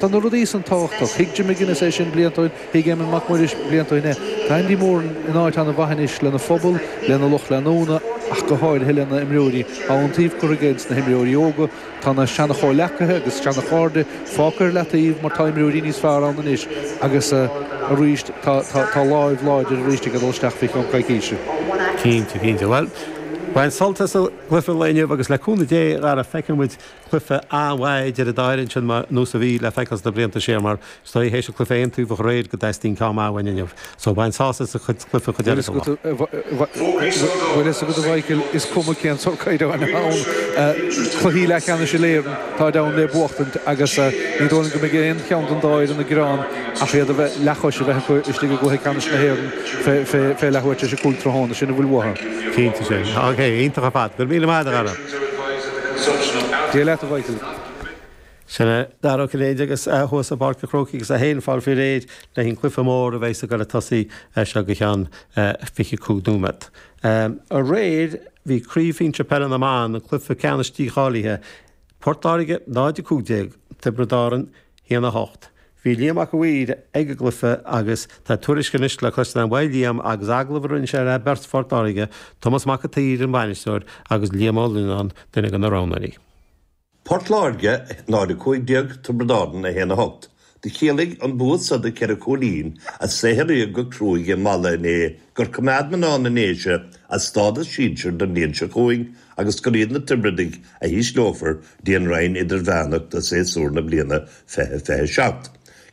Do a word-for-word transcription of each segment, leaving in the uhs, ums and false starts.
Tá na rudaí san tábhachtach. Thuig Jim McGuinness é sin blianta ó shin, thuig Éamonn Mac Muiris blianta ó shin é. Tá Andy Moran in áit an-mhaith anois lena phobal, lena lucht leanúna, ach go háirithe lena imreoirí. Tá iontaoibh curtha aige ins na himreoirí óga, tá na seana-chomhleacaithe agus seana-chairde fágtha ar leataobh mar tá imreoirí níos fearr ann anois agus arís tá tá láimh láidir arís ag dul isteach faoi cheann coicíse. Cinnte, cinnte. Bhuel, bain sult as an gcluiche lae inniu agus le cúnamh Dé a Dhara feicfidh muid cluiche an-mhaith idir an dá fhoireann sin mar nós a bhí le feiceáil sna blianta siar mar is dóigh théis an cluiche aontaobhach aréir go dteastaíonn ceann maith uainn inniu. So bain sásamh as an chuid cluiche chuid eile den lá. Bhfuil fhios agat a Mhichael, is cuma cén sórt caighdeáin ann, cluichí leathcheannais Uile-Éireann, táid ann le buachtaint agus ní dóigh liom go mbeidh aon cheann den dá fhoireann ag gearán ach iad a bheith leathchois a bheith acu istigh i gcluiche ceannais na hÉireann fé leathuair tar éis a cúig tráthnóna, sin a bhfuil uathu. Cinnte sin. Ok, iontach ar fad. Go raibh míle maith agat a Dhara. Dia leat a Mhichael. Sin é Dara Ó Cinnéide agus thuas i bPáirc an Chrócaigh agus é féin ag fáil faoi réir le an cluiche mór a bheidh ag dul ag tosaí seo go ceann fiche cúig nóiméad. Aréir bhí Craobh Shinsir Peile na mBan, an cluiche ceannais dícháilithe, Port Láirge náid a cúig déag, Tiobraid Árann haon a hocht. Bhí Liam Mac a' Mhaoir ag an gcluiche agus tá tuairisc anois le cloisteáil uaidh Liam agus agallamh a rinne sé le beirt Phort Láirge, Tomás Mac an tSaoir an bainisteoir agus Liam Ó Lionnáin, duine de na roghnóirí. Port Láirge náid a cúig déag, Tiobraid Árann a haon a hocht. Do chiallaigh an bua so de cheithre chúilín, a saothraíodh go cruaidh i Mala inné, gur coimeád mná na nDéise a stádas sinsir don bhliain seo chugainn agus gur iad na Tiobradaigh a hísleofar dtí an roinn idirmheánach do séasúr na bliana fiche fiche seacht.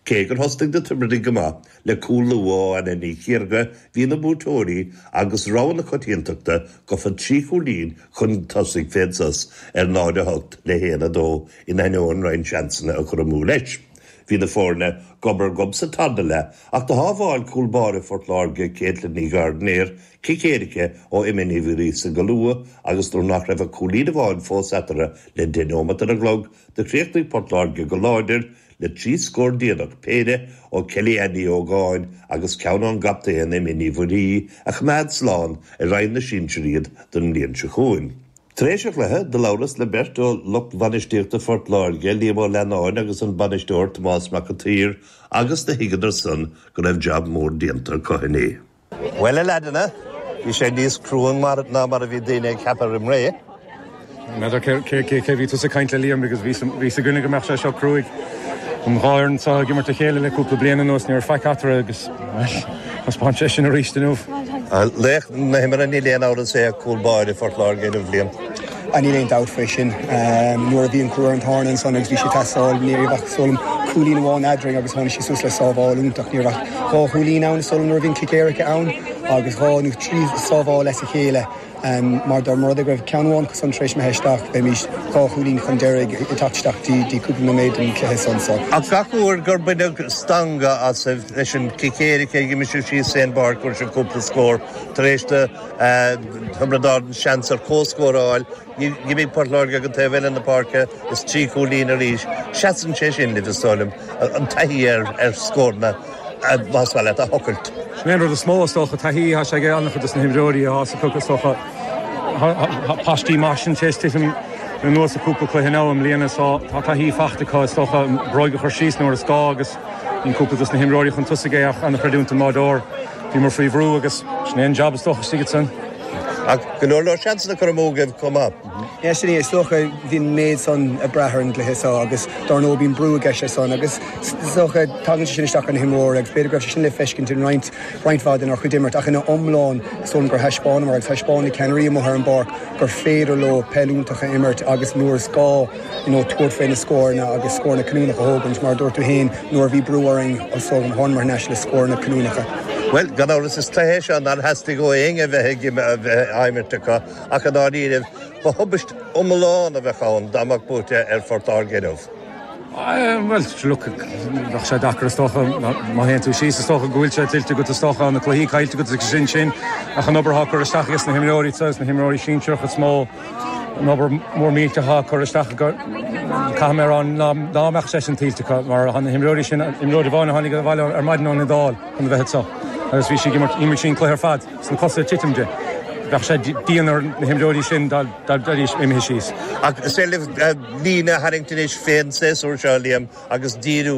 Cé gur thosnaigh na Tiobradaigh go maith le cúl luath ó Anna Ní Chiarga, bhí na buaiteoirí agus rogha na coitiantachta gofa trí chúilín chun tosaigh fén sos ar náid a hocht le haon a dó in ainneoin roinnt seansanna a chur amú leis. Bhí na foirne gob ar gob sa tarna leath ach do shábháil cúl báire Phort Láirge Caitlin Ní Ghairdinéir cic éirice ó Emma Ní Mhuiríosa go luath agus nuair nach raibh ach cúilín amháin fós eatarthu le deich nóimeat ar an gclog do chríochnaigh Port Láirge go láidir le trí scór déanach, péire ó Kelly Ann Ní Ógáin agus ceann ón gcaptaen Emma Ní Mhuirí a choimeád slán i Roinn na Sinsear iad don mbliain seo chugainn. Tar éis an chluiche, do labhras le beirt ó lucht bhainistíochta Phort Láirge, Liam Ó Leannáin agus an bainisteoir Tomás Mac an tSaoir agus do thuigeadar san go raibh jab mór déanta acu inné. Bhuel, a leaideanna, bhí sé níos crua ná mar a bhí daoine ag ceapadh roim ré. N'fheadar cé cé bhí tusa ag caint le Liam because bhí 's againne go mbeadh sé seo cruaidh. An dhá fhoireann seo ag imirt a chéile le cúpla bliain anuas, ní raibh faic eatarthu agus, bhuel, thaispeáin sé sin arís inniu. Laoch na himeartha, níl aon amhras é cúl báire Phort Láirge inniu, Liam. Níl aon dabht faoi sin. Nuair a bhí an crú ar an tairne ansan agus bhí sé ag teastáil, ní raibh ach is dóigh liom cúilín amháin eadrainn agus tháinig sí suas le sábháil iontach. Ní raibh ach dhá chúilín ann is dóigh liom nuair a bhí an cic éirice ann agus dhá nó trí sábháil as a chéile. Mar dá mba rud é go raibh ceann amháin acu san tar éis imithe isteach, bheimís dhá chúilín chun deiridh ag teacht isteach dtí cúpla nóiméad den chluiche san. So. Ach gach uair gur baineadh stangadh asaibh leis an gcic éirice ag imigh sibh síos fén bpáirc fuair sibh cúpla scór tar éis do Thiobraid Árann seans ar comhscór a fháil. D'imigh Port Láirge ag an taobh eile na páirce is trí chúilín arís. Seasann sé sin libh is dóigh liom, an taithí ar scóranna. más maith leat a thochailt. Sin é an rud is mó, is dócha, taithí atá sé ag an-chuid de na himreoirí atá acu, is dócha. Tá paistí maith sin tar éis titim anuas i cúpla cluiche now i mbliana so tá taithí faighte acu, is dócha, an bróig a chur síos nuair is gá agus bíonn cúpla de na himreoirí chun tosaigh é ach an-chreidiúint don mbáireoir. Bhíomar faoi bhrú agus sin é an jab is dócha istigh ansan. Ach go leor leor seansanna curtha amú agaibh chomh maith. Yeah, sin é, is dócha, bhí an méid san ag brath ar an gcluiche seo agus dár ndóigh bíonn brú i gceist leis san agus is dócha tagann sé sin isteach ar na himreoirí agus b'fhéidir go raibh sé sin le feiscint in roinnt roinnt mhaith denár chuid imirt ach ina iomlán is dóigh liom gur thaispeánamar agus thaispeáin na ceannairí amuigh ar an bpáirc gur féidir leo peil iontach a imirt agus nuair is gá you know tabhairt faoi na scóranna agus scóranna cinniúnacha a thógaint mar a dúirt tú féin nuair a bhí brú orainn is dóigh liom thánamar thar n-ais le scóranna cinniúnacha. Bhuel, gan amhras is cluiche é seo nár theastaigh ó éinne a bheith ag á imirt acu ach i ndáiríribh ba thubaist iomlán a bheadh ann dá mbeadh buaite ar Phort Láirge inniu. Bhuel, look, bheadh sé deacair is dócha, má théann tú síos is dócha go bhfuil sé tuillte agat is dócha, na cluichí caillte agat agus sin sin, ach an obair atá curtha isteach ages na himreoirí seo, na himreoirí sinsearach is mó, an obair mór millteach atá curtha isteach acu, caithfidh mé a rá ná mbeadh sé sin tuillte acu mar tá na himreoirí sin, imreoir amháin a tháinig abhaile ar maidin ón Iodáil chun a bheith anseo agus bhí sí ag imirt, d'imir sí an cluiche ar fad. Is na cosa ag titim di. Bheadh sé dian ar na himreoirí sin dá mbeidís imithe síos. Ach is é líne a tharraingt anois fén séasúr seo Liam agus díriú